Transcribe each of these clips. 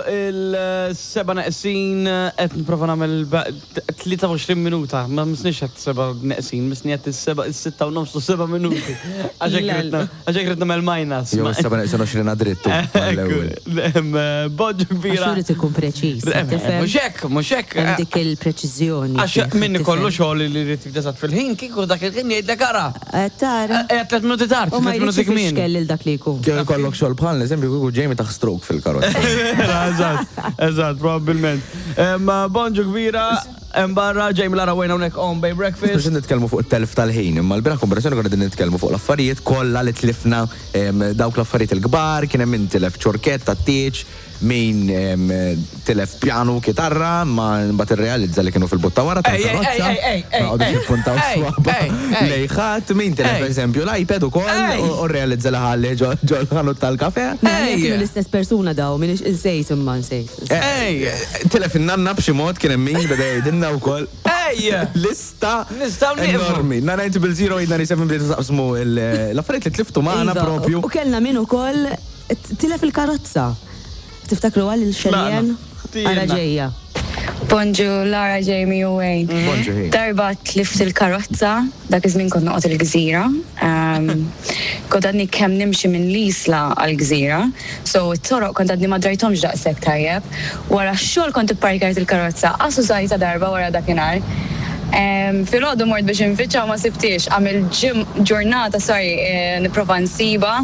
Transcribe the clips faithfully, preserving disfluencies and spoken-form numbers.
Il-seba neqsin, qed nipprova nagħmel ba- tlieta u għoxrin minuta, ma misnix qed seba neqsin, misni qed is-seba, is-sitta u nofs u seba minuti. Għaxek Lel. Għaxek rid nagħmel minus. Jew is-seba neqsin għoxrin drittu. Mal-ewwel. Bonġu kbira. Għax irid ikun preċiż. Tifhem? Mhux hekk, mhux hekk. Hemm dik il-preċiżjoni. Għax fih, min tifhem? ikollu xogħol li jrid jibda eżatt fil-ħin, kieku dak il-ħin jgħidlek ara. Eh, Tara. Eh, tliet minuti tard, U ma tliet jridx minuti kmin. ifixkel lil dak li jkun. Kieku jkollok xogħol bħal eżempju kieku Jamie taħ stroke fil-karozza. Eżatt, eżatt, probabbilment. Em, Bonġu kbira, hemm barra Jamie, Lara, Wayne hawnhekk on Bay Breakfast. Biex nitkellmu fuq it-telf tal-ħin, imma l-bieraħ konversazzjoni konna qegħdin nitkellmu fuq l-affarijiet kollha li tlifna, em, dawk l-affarijiet il-kbar, kien hemm min tilef ċorkett tat-tieġ, min em, tilef pjanu, kitarra, ma mbagħad irrealizza li kienu fil-but ta' wara Ej, ej, tal-karozza. ej, ej, ej, Ma qogħdux ej, jippuntaw ej, swaba ej, ej. lejn ħadd, min tilef Ej. eżempju l-iPad ukoll Ej. u u rrealizza li ħalli ġo ġo l-ħanut tal-kafe. Mela, Ej. kienu l-istess persuna daw, minix insejt imma nsejt. Ej, tilef in-nanna b'xi mod, kien hemm min beda jgħidilna wkoll. Ej! Lista Nistgħu nieqfu. enormi. nine nine zero eight nine seven bdejtu taqsmu il- l-affarijiet li tliftu magħna Iva, propju. U kellna min ukoll tilef il-karozza. Tiftakru għal il-xeljen? Tlaqna. Ara ġejja. Bonġu, Lara, Jamie u Wayne. Bonġu, hi. Darba tlift il-karozza, dak iż-żmien kont noqgħod il-Gżira. Um, kont għadni kemm nimxi minn l-Isla għal-Gżira, so it-toroq kont għadni ma drajthomx daqshekk tajjeb. Wara x-xogħol kont ipparkjajt il-karozza, qas użajtha darba wara dakinhar. Um, Filgħodu mort biex infittxa u ma sibtix, għamil ġim ġurnata, sorry, eh, nipprova nsiba.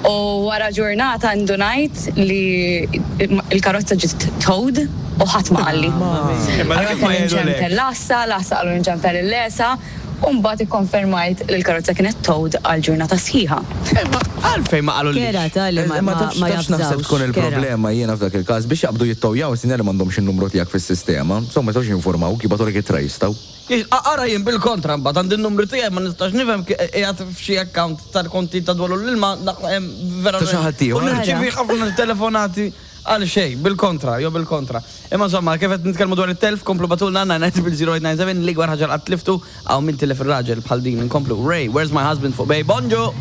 U wara ġurnata ndunajt li il-karozza ġiet towed u ħadd ma qalli. Imma dak Allora kif ma kelli jgħidulek? nċempel l-għassa, l-għassa qalu nċempel il-LESA, u mbagħad ikkonfermajt li l-karozza kienet towed għal ġurnata sħiħa. Imma għalfejn ma qalu Kera ta' li ma Eh, Ma ma tafx ma tafx naħseb jafżawx. tkun Kera. il-problema jiena f'dak il-każ biex jaqbdu jittowjaw sinjali m'għandhomx in-numru tiegħek fis-sistema. Insomma, ma jistgħux jinformawk, jibgħatulek ittra jistgħu. Ara jien bil-kontra mbagħad għandi n-numru tiegħi, ma nistax nifhem qiegħed f'xi account tal-konti ta' dwar l-ilma vera. Ta' xi ħadd ieħor. U nirċievi ħafna telefonati għal xejn, bil-kontra, jew bil-kontra. Imma insomma, kif qed nitkellmu dwar it-telf, komplu ibagħtulna nine nine zero eight nine seven l-ikbar ħaġa qatt tliftu, għaw min tilef ir-raġel bħal din. Inkomplu Ray, "Where's My Husband" fuq Bay. Bonġu!